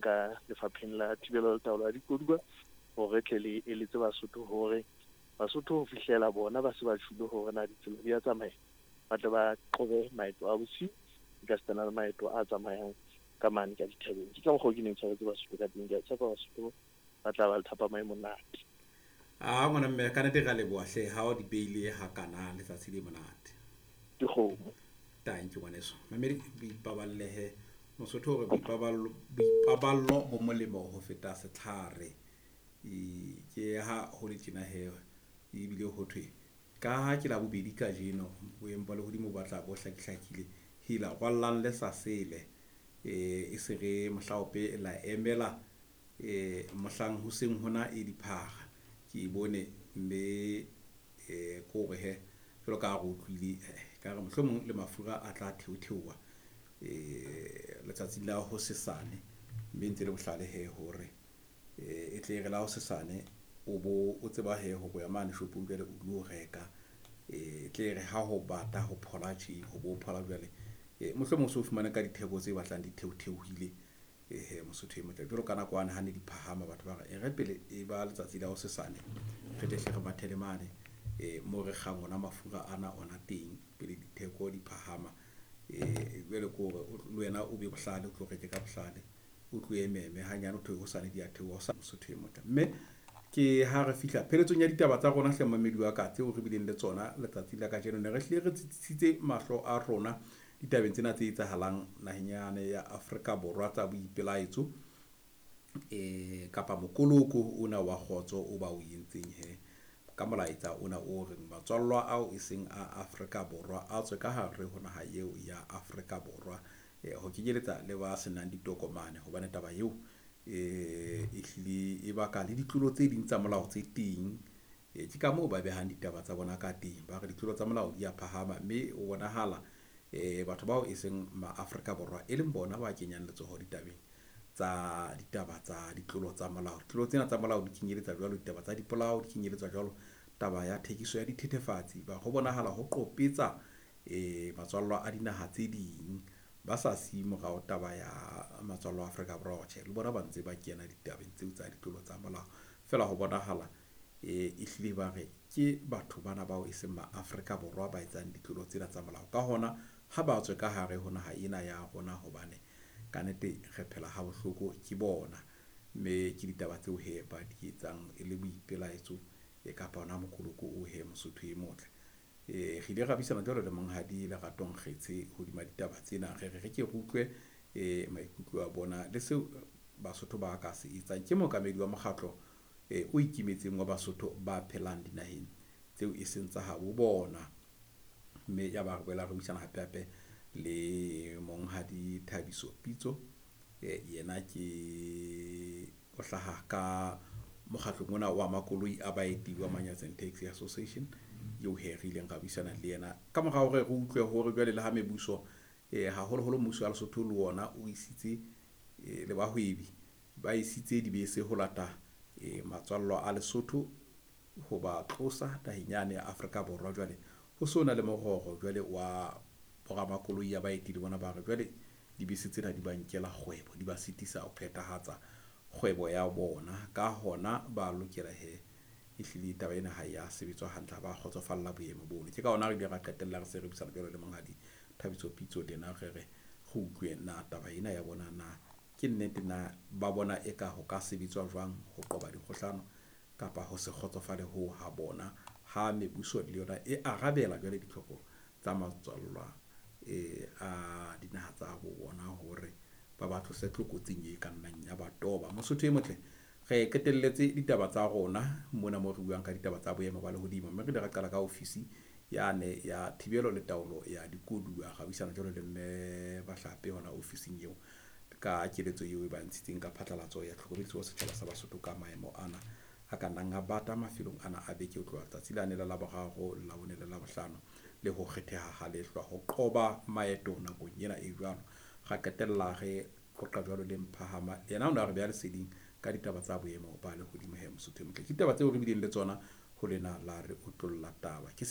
Ka lefapheng la thibelo le taolo ya dikoduwa hore tle le eletse Basotho hore Basotho ho fihlela bona ba se ba tjhulo hore na ditsela di a tsamaya, ba tle ba qobe maeto a bosiu ekasitana le maeto a tsamayang ka mane ka dithabeng. Ke ka mokgwa o ke neng tshwaretse Basotho ka teng. Ke a tshepa Basotho ba tla ba le thapama e monate. A ngwana mme, ka nnete re a leboha hle ha o di beile hakana. Letsatsi le monate. Dikgomo. Tanki ngwaneso. Mamedi, boipaballehe. Mosotho hore boipaballo bo molemo ho feta setlhare. Ke ha ho le tjena he, ebile ho thwe ka ha ke Labobedi kajeno, boemo ba lehodimo bo batla bo hlakihlakile. Hela rwallang le sa sele, e se re mohlaope la emela mohlang hoseng hona e diphara. Ke e bone mme ke hore hee jwalo ka ha re utlwile, ekare mohlomong le mafura a tla theo-theoha letsatsing la hosesane, mme ntse le bohlale hee hore e tle re la hosesane o bo o tseba hee hore o ya mane shopong jwale o lo reka, e tle re ha ho bata ho phola tje, ho bo phola jwale, mohlomong o so fumane ka ditheko tse batlang di theo-theohile. Ehe Mosotho e motle, jwalo ka nako yane ha ne di phahama, batho ba re e re pele e ba letsatsi la hosesane, re tle hle re mathele mane mo re kgang ona mafura ana ona teng pele ditheko di phahama. Jwale ke hore le wena o be bohlale, o tlo reke ka bohlale, o tlo ememe hanyane, ho thwe hosane di a theoha Mosotho e motle. Mme ke ha re fihla pheletsong ya ditaba tsa rona hle momamedi wa ka, tseo re bileng le tsona letsatsi la kajeno. Ne re hlile re tsitsisitse mahlo a rona ditabeng tsena tse etsahalang naheng yane ya Afrika Borwa tsa boipelaetso, kapa mokoloko ona wa kgotso o ba o entseng he ka molaetsa ona o reng matswallwa ao e seng a Afrika Borwa a tswe ka hare ho naha eo ya Afrika Borwa, ho kenyeletsa le ba senang ditokomane, hobane taba eo e hlile e baka le ditlolo tse ding tsa molao tse teng. Ke ka moo ba behang ditaba tsa bona ka teng, ba re ditlolo tsa molao di a phahama, mme o bonahala batho bao e seng ma-Afrika Borwa e leng bona ba kenyang letsoho ditabeng tsa ditaba tsa ditlolo tsa molao. Ditlolo tsena tsa molao di kenyeletsa jwalo ditaba tsa dipolao, di kenyeletsa jwalo taba ya thekiso ya dithethefatsi. Ba ho bonahala ho qopetsa matswallwa a dinaha tse ding, ba sa siye morao taba ya matswallo a Afrika Borwa. Tjhe, le bona ba ntse ba kena ditabeng tseo tsa ditlolo tsa molao, feela ho bonahala ehlile ba re ke batho bana bao e seng ma-Afrika Borwa ba etsang ditlolo tsena tsa molao. Ka hona ha ba tswe ka hare ho naha ena ya rona, hobane kannete re phela ha bohloko ke bona. Mme ke ditaba tseo he ba di etsang e le boipelaetso kapa ona mokoloko o he Mosotho e motle. Re ile ra buisana jwalo le monghadi Lerato Nkgetshe hodima ditaba tsena, re re re ke re utlwe maikutlo a bona le seo Basotho ba ka se etsang. Ke mookamedi wa mokgatlo o ikemetseng wa Basotho ba phelang dinaheng tseo e seng tsa habo bona. Mme ya ba re boela re buisana hape hape le monghadi Thabiso Pitso, yena ke o hlaha ka mokgatlong ona wa makoloi a baeti wa Manyatseng Taxi Association, eo he re ileng ra buisana le yena ka mora hore re utlwe hore jwale le ha mebuso, haholoholo mmuso wa Lesotho le ona o isitse le bahwebi ba isitse dibese ho lata matswallwa a Lesotho ho ba tlosa naheng yane ya Afrika Borwa. Jwale ho so na le mororo jwale wa boramakoloi ya baeti, le bona ba re jwale dibese tsena di ba nkela kgwebo, di ba sitisa ho phethahatsa kgwebo ya bona, ka hona ba lokela he ehlile taba ena ha ya sebetswa hantle, ha ba kgotsofalla boemo bono. Ke ka hona re ile ra qetella re se re buisana jwalo le monghadi Thabiso Pitso, le yena re re re utlwe na taba ena ya bona na ke nnete, na ba bona eka ho ka sebetswa jwang ho qoba dikgohlano kapa ho se kgotsofale ho ha bona ha mebuso le yona e arabela jwale ditlhoko tsa matswallwa a dinaha tsa bo bona hore ba ba tlose tlokotsing e ka nnang ya ba toba. Mosotho e motle, re qetelletse ditaba tsa rona mona mo re buang ka ditaba tsa boemo ba lehodimo, mme re ile ra qala ka ofisi yane ya thibelo le taolo ya dikoduwa, ra buisana jwalo le mme Bahlape hona ofising eo ka keletso eo e ba ntshitseng ka phatlalatso ya tlhokomediso ho setjhaba sa Basotho ka maemo ana a ka nnang a bata mafelong ana a beke ho tloha tsatsi lane la Laboraro, Labone le Labohlano, le ho kgetheha ha lehlwa ho qoba maeto nakong ena e jwalo. Ra qetella re qoqa jwalo le Mphahama, yena o ne a re beha leseding ka ditaba tsa boemo ba lehodimo. He Mosotho e motle, ke ditaba tseo re bileng le tsona ho lena la re otlolla taba ke.